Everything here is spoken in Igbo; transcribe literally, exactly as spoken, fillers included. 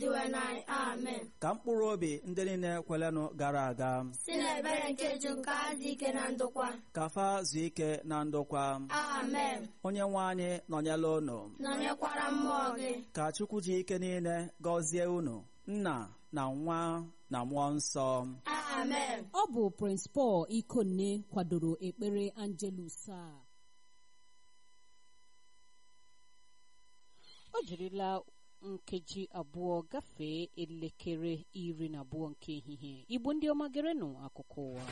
Dinwe anyị. Amen. Ka mkpụrụ obi ndị niile kwelenụ gara aga si n'ebere nke Chukwu ka ha dị ike na ndokwa. Ka fa zuo ike na ndokwa. Amen. Onye nwe anyị nọnyela unu. Nọnyekwara mmụọ gị. Ka Chukwu ji ike niile gọzie unu, Nna na Nwa na Mmụọ Nsọ. Amen. Ọ bụ Prince Paul Ikonne kwadoro ekpere Angelus a. O jirila nkeji abụọ gafee elekere iri na abụọ nke ehihie. Igbo ndị ọma, gerenụ akụkọ ụwa.